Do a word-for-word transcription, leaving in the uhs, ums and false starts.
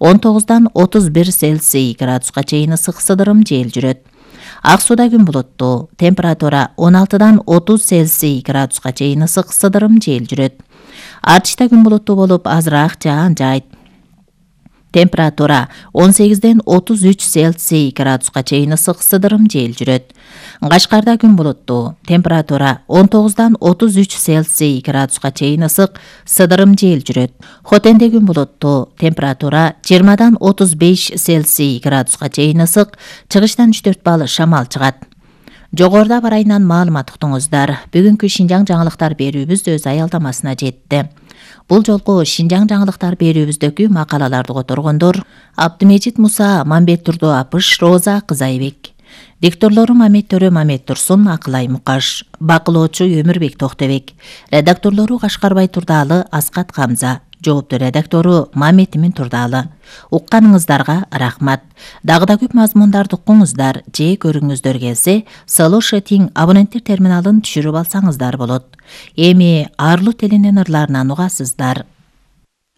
он тогуздан отуз бир Цельсий градуска чейин ысык сыдырым жел жүрөт. Ак Сууда күн булуттуу, температура он алтыдан отуз Цельсий градуска чейин ысык сыдырым жел жүрөт. Артышта күн булуттуу болуп, азыраак жаан жайт. Температура он сегизден отуз үч Цельсий градуска чейин ысык сыдырым жел жүрөт. Кашкарда күн булуттуу, температура он тогуздан отуз үч Цельсий градуска чейин ысык сыдырым жел жүрөт. Хотенде күн булуттуу, температура жыйырмадан отуз беш Цельсий градуска чейин ысык, чыгыштан үч төрт балл шамал чыгат. Жогоруда бар айынан маалымат уктуңуздар. Бүгүнкү Шинжаң жаңылыктар берүүбүз өз аялдамасына жетти. Бул жолку Шинжаң жаңылыктар берүүбүздөгү макалаларды которгондор Абдымежит Муса, Мамбет Турду Апыш, Роза Кызайбек. Дикторлору Мамет Төрө, Мамет Турсун, Акылай Мукаш. Бакылоочу Өмүрбек Токтобек. Редакторлору Кашкарбай Турдалы, Аскат Камза. Жоопту редактору Мамет Имин Турдалы. Укканыңыздарга рахмат. Дагы да көп мазмундарды укуңуздар же көрүңүздөр келсе, Слушатиң абоненттер терминалын түшүрүп алсаңыздар болот. Эми арлуу телинен ырларынан угасыздар.